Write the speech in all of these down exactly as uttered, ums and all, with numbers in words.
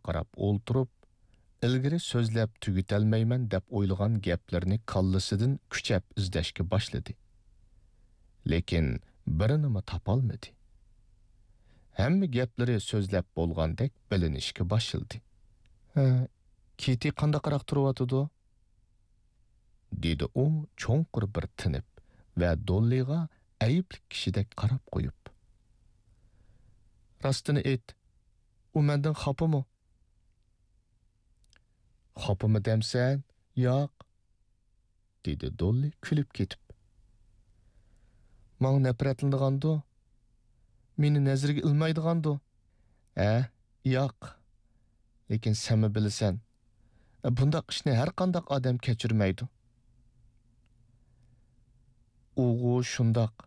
قاراپ ئولتۇرۇپ، ئىلگىرى سۆزلەپ تۈگىتەلمەيمەن دەپ ئويلىغان گەپلىرىنى كاللىسىدىن كۈچەپ ئىزدەشكە باشلىدى. لېكىن بىرىنىمۇ تاپالمىدى. ھەممە گەپلىرى سۆزلەپ بولغاندەك بىلىنىشكە باشلىدى. ھە، كىتى قانداقراق تۇرۇۋاتىدۇ؟ دېدى ئۇ چوڭقۇر بىر تىنىپ ۋە دوللىغا ئەيىبلىك كىشىدەك قاراپ قويۇپ. راستىنى ئېيت، ئۇ مەندىن خاپىمۇ؟ خاپىمۇ دەمسەن؟ ياق، دېدى دوللى كۈلۈپ كېتىپ. ماڭا نەپرەتلىنىدىغاندۇ؟ مېنى نەزىرىگە ئىلمايدىغاندۇ؟ ھە، ياق. لېكىن سەنمۇ بىلىسەن، بۇنداق ئىشنى ھەر قانداق ئادەم كەچۈرمەيدۇ. ئۇغۇ شۇنداق،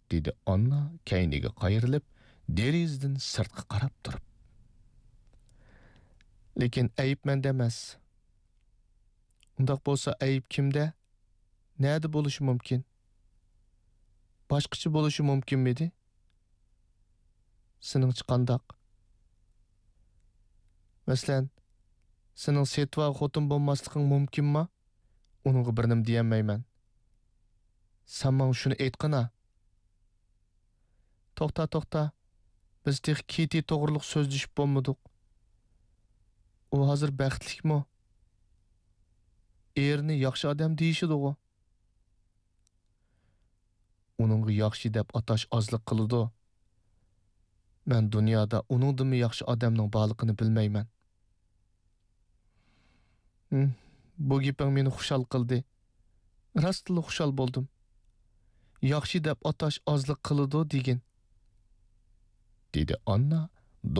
دېدى ئاننا كەينىگە قايرىلىپ، دېرىزىدىن سىرتقا قاراپ تۇرۇپ. لېكىن ئەيىب مەندە ئەمەس. ئۇنداق بولسا ئەيىب كىمدە؟ نەدە بولۇشى مۇمكىن؟ باشقىچە بولۇشى مۇمكىنمىدى؟ سېنىڭچە قانداق؟ مەسىلەن، سېنىڭ سېتىۋا خوتۇن بولماسلىقىڭ مۇمكىنما؟ ئۇنىڭغا بىر نېمە دېيەلمەيمەن. سەن ماڭا شۇنى ئېيتقىنا. توختا، توختا. بىز تېخى كىتى توغرۇلۇق سۆزلىشىپ بولمىدۇق. ئۇ ھازىر بەختلىكمۇ؟ ئېرىنى ياخشى ئادەم دېيىشىدىغۇ؟ ئۇنىڭغا ياخشى دەپ ئاتاش ئازلىق قىلىدۇ. مەن دۇنيادا ئۇنىڭدىنمۇ ياخشى ئادەمنىڭ بارلىقىنى بىلمەيمەن. ھىم، بۇ گېپىڭ مېنى خۇشال قىلدى. راستلا خۇشال بولدۇم. ياخشى دەپ ئاتاش ئازلىق قىلىدۇ دېگىن. دېدى ئاننا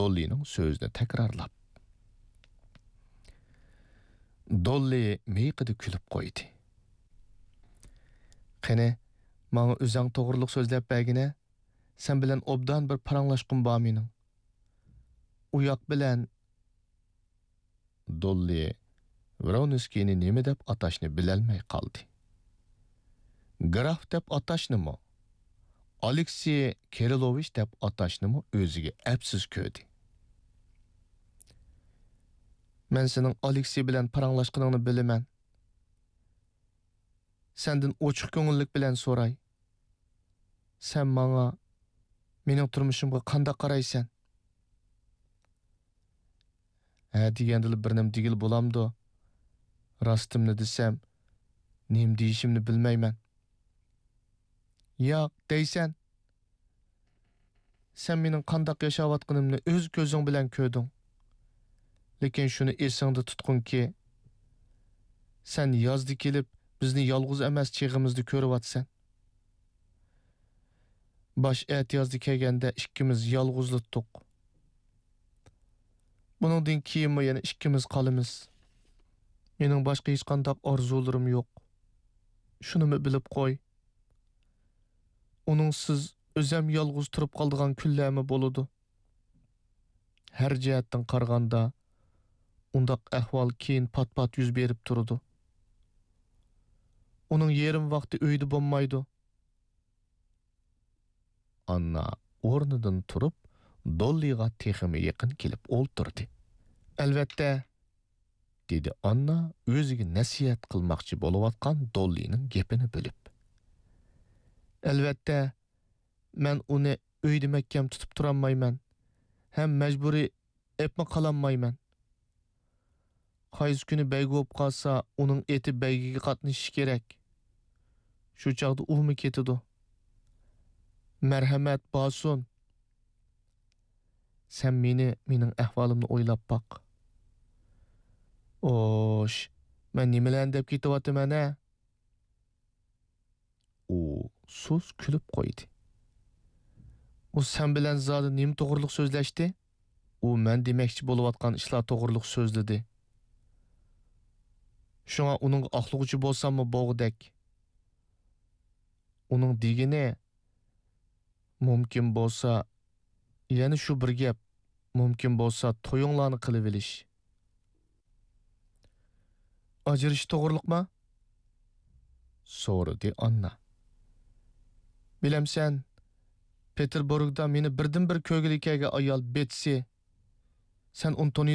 دوللىنىڭ سۆزىنى تەكرارلاپ. دوللى مىيىقىدا كۈلۈپ قويدى. قېنى، ماڭا ئۆزەڭ توغرۇلۇق سۆزلەپ بەرگىنە، سەن بىلەن ئوبدان بىر پاراڭلاشقۇم بار مېنىڭ. ئۇياق بىلەن. دوللى ۋرونسكىينى نېمە دەپ ئاتاشنى بىلەلمەي قالدى. گراف دەپ ئاتاشنىمۇ، ئالېكسىي كىرىلوۋىچ دەپ ئاتاشنىمۇ ئۆزىگە ئەپسىز كۆردى. مەن سېنىڭ ئالېكسىي بىلەن پاراڭلاشقىنىڭنى بىلىمەن. سەندىن ئوچۇق كۆڭۈللۈك بىلەن سوراي. سەن ماڭا، مېنىڭ تۇرمۇشۇمغا قانداق قارايسەن؟ ھە دېگەندىلا بىر نېمە دېگىلى بولامدۇ؟ راستىمنى دېسەم، نېمە دېيىشىمنى بىلمەيمەن. ياق، دەيسەن. سەن مېنىڭ قانداق ياشاۋاتقىنىمنى ئۆز كۆزۈڭ بىلەن كۆردۈڭ. لېكىن شۇنى ئېسىڭدە تۇتقىنكى، سەن يازدا كېلىپ، بىزنى يالغۇز ئەمەس چېغىمىزدا كۆرۈۋاتىسەن. باش ئەتىيازدا كەلگەندە ئىككىمىز يالغۇزلا تۇتتۇق. بۇنىڭدىن كېيىنمۇ يەنە ئىككىمىز قالىمىز. مېنىڭ باشقا ھېچقانداق ئارزۇلىرىم يوق. شۇنىمۇ بىلىپ قوي. ئۇنىڭسىز ئۆزەم يالغۇز تۇرۇپ قالىدىغان كۈنلەرمۇ بولىدۇ. ھەر جەھەتتىن قارىغاندا، ئۇنداق ئەھۋال كېيىن پات-پات يۈز بېرىپ تۇرىدۇ. ئۇنىڭ يېرىم ۋاقتى ئۆيدە بولمايدۇ. ئاننا ئورنىدىن تۇرۇپ، دوللىغا تېخىمۇ يېقىن كېلىپ ئولتۇردى. ئەلۋەتتە، دېدى ئاننا ئۆزىگە نەسىھەت قىلماقچى بولۇۋاتقان دوللىنىڭ گېپىنى بۆلۈپ. ئەلۋەتتە، مەن ئۇنى ئۆيدە مەھكەم تۇتۇپ تۇرالمايمەن ھەم مەجبۇرىي ئېپمۇ قالالمايمەن. قايسى كۈنى بەيگە بولۇپ قالسا، ئۇنىڭ ئېتى بەيگىگە قاتنىشىشى كېرەك. شۇ چاغدا ئۇمۇ كېتىدۇ. مەرھەمەت، بارسۇن. سەن مېنى، مېنىڭ ئەھۋالىمنى ئويلاپ باق. ئوش، مەن نېمىلەرنى دەپ كېتىۋاتىمەن ھە؟ ئۇ سۇس كۈلۈپ قويدى. ئۇ سەن بىلەن زادى نېمە توغرۇلۇق سۆزلەشتى؟ ئۇ مەن دېمەكچى بولۇۋاتقان ئىشلار توغرۇلۇق سۆزلىدى. شۇڭا ئۇنىڭغا ئاقلىغۇچى بولساممۇ بولغۇدەك. ئۇنىڭ دېگىنى، مۇمكىن بولسا، يەنە شۇ بىر گەپ، مۇمكىن بولسا تويۇڭلارنى قىلىۋېلىش. ئاجرىشىش توغرۇلۇقما؟ سورىدى ئاننا. بىلەمسەن، پېتېربۇرگدا مېنى بىردىنبىر كۆرگىلى كەلگەن ئايال بېتسى. سەن ئۇنى تونۇيسەنمۇ؟